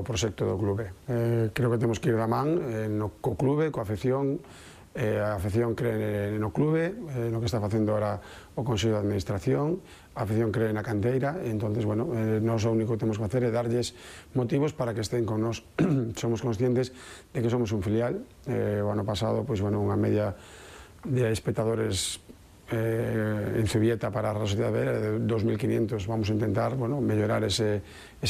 proxecto do clube. Creo que temos que ir da man co clube, coa afección. A afección cree no clube, no que está facendo ahora o Consello de Administración, a afección cree na canteira, e entonces, bueno, nós o único que temos que facer é darlles motivos para que estén con nós. Somos conscientes de que somos un filial. O ano pasado, pois, bueno, unha media de espectadores en Zubieta para a Real Sociedade B de 2.500. Vamos a intentar, bueno, mellorar esa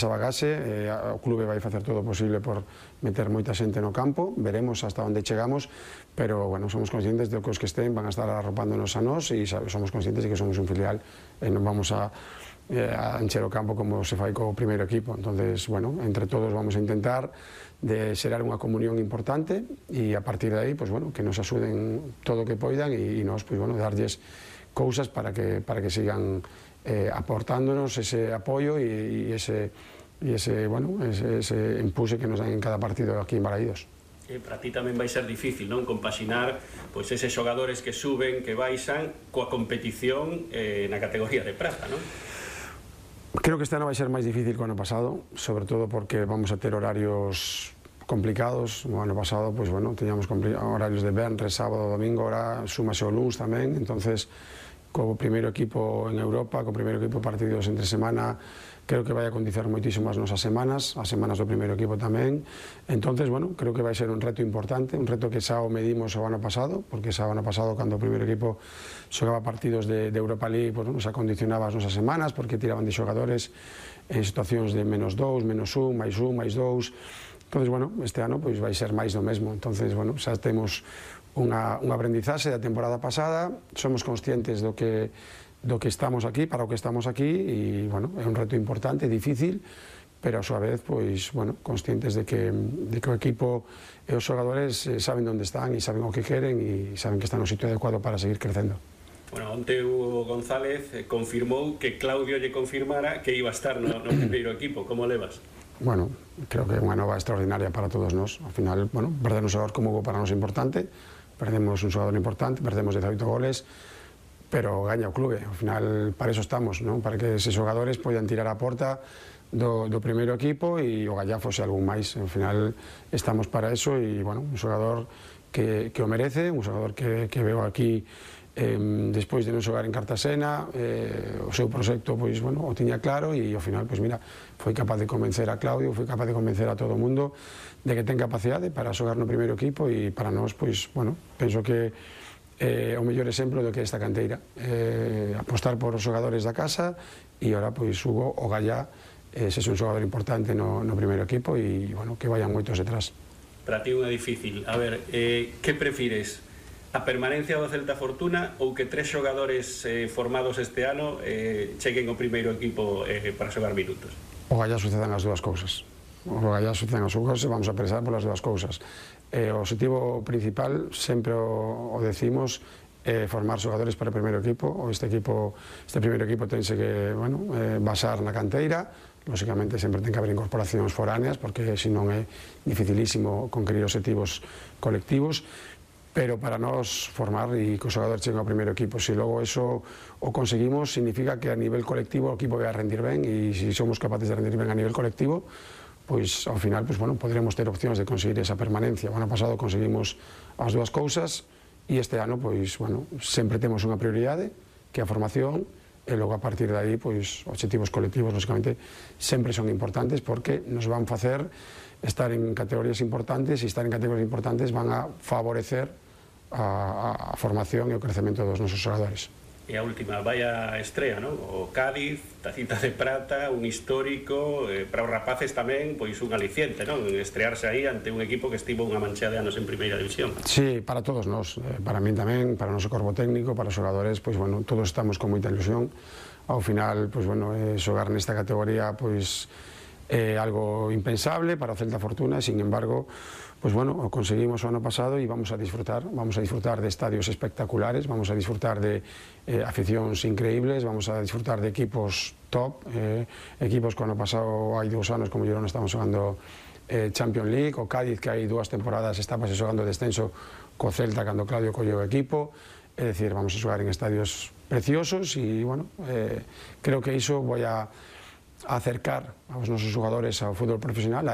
bagaxe. O clube vai facer todo o posible por meter moita xente no campo, veremos hasta onde chegamos, pero, bueno, somos conscientes de que os que estén van a estar arropándonos a nós e somos conscientes de que somos un filial e non vamos a encher o campo como se fai co primeiro equipo. Entonces, bueno, entre todos vamos a intentar de xerar unha comunión importante e a partir de aí, pues, bueno, que nos axuden todo o que poidan e nós, pues, bueno, darlles cousas para que sigan aportándonos ese apoio e ese empuxe que nos dan en cada partido aquí en Balaídos. Para ti tamén vai ser difícil, non, compaxinar pois eses xogadores que suben, que baixan coa competición na categoría de prata, non? Creo que este ano vai ser máis difícil que o ano pasado, sobre todo porque vamos a ter horarios complicados. O ano pasado, pois, bueno, teníamos horarios de venres, sábado, domingo, ahora súmase o luns tamén, entonces co primeiro equipo en Europa, co primeiro equipo partidos entre semana, creo que vai a condicionar moitísimo as nosas semanas, as semanas do primeiro equipo tamén. Entonces, bueno, creo que vai ser un reto importante, un reto que xa o medimos o ano pasado, porque xa o ano pasado, cando o primeiro equipo xogaba partidos de Europa League, pues, bueno, xa condicionaba as nosas semanas, porque tiraban de xogadores en situacións de -2, -1, +1, +2. Entonces, bueno, este ano pois vai ser máis do mesmo. Entonces, bueno, xa temos un aprendizaxe da temporada pasada, somos conscientes do que estamos aquí, para o que estamos aquí, e, bueno, é un reto importante, difícil, pero a súa vez, pois, bueno, conscientes de que o equipo e os xogadores saben onde están e saben o que queren e saben que están no sitio adecuado para seguir crecendo. Bueno, onte Hugo González confirmou que Claudio lle confirmara que iba a estar no primeiro equipo. Como levas? Bueno, creo que é unha nova extraordinaria para todos nós. Ao final, bueno, perder un xogador como Hugo para nós é importante, perdemos un xogador importante, perdemos 18 goles, pero gaña o clube. Ao final, para eso estamos, non? Para que eses xogadores poidan tirar a porta do primeiro equipo e o Gallá fose algún máis. Ao final, estamos para eso e, bueno, un xogador que o merece, un xogador que veo aquí despois de non xogar en Cartasena, o seu proxecto, pois, bueno, o tiña claro e ao final, pois, mira, foi capaz de convencer a Claudio, foi capaz de convencer a todo o mundo de que ten capacidade para xogar no primeiro equipo e para nós, pois, bueno, penso que o mellor exemplo do que é esta canteira, apostar por os xogadores da casa e ora, pois, Hugo, o Gallá, ese é un xogador importante no primeiro equipo e, bueno, que vayan moitos detrás. Para ti unha difícil. A ver, que prefires? A permanencia do Celta Fortuna ou que 3 xogadores formados este ano cheguen ao primeiro equipo para xogar minutos? O Gallá sucedan as dúas cousas. O Gallá sucedan as dúas cousas e vamos a presar polas dúas cousas. O objetivo principal, sempre o decimos, é formar xogadores para o primeiro equipo. Este primeiro equipo tense que, bueno, basar na canteira. Lóxicamente, sempre ten que haber incorporacións foráneas, porque senón é dificilísimo conquerir objetivos colectivos. Pero para nós formar e que os xogadores cheguen ao primeiro equipo, se logo eso o conseguimos, significa que a nivel colectivo o equipo vai a rendir ben e se somos capaces de rendir ben a nivel colectivo, pois ao final, pois, bueno, poderemos ter opcións de conseguir esa permanencia. O ano pasado conseguimos as dúas cousas e este ano, pois, bueno, sempre temos unha prioridade, que é a formación, e logo a partir de aí, pois, objetivos colectivos, lógicamente, sempre son importantes porque nos van facer estar en categorías importantes e estar en categorías importantes van a favorecer a formación e o crecemento dos nosos xogadores. E a última, vaya estrea, non? O Cádiz, tacita de prata, un histórico, para os rapaces tamén, pois un aliciente, non? Estrearse aí ante un equipo que estivo unha mancha de anos en primeira división. Sí, para todos nós, para min tamén, para o noso corpo técnico, para os xogadores, pois, bueno, todos estamos con moita ilusión. Ao final, pois, bueno, xogar nesta categoría, pois, é algo impensable para o Celta Fortuna, sin embargo, pues bueno, o conseguimos o ano pasado e vamos a disfrutar de estadios espectaculares, vamos a disfrutar de aficións increíbles, vamos a disfrutar de equipos top, equipos que o ano pasado hai 2 anos como Girona estamos xogando Champions League, o Cádiz que hai 2 temporadas estaba xogando descenso co Celta cando Claudio colleu o equipo, é dicir, vamos a xogar en estadios preciosos e, bueno, creo que iso vai a acercar aos nosos xogadores ao fútbol profesional, a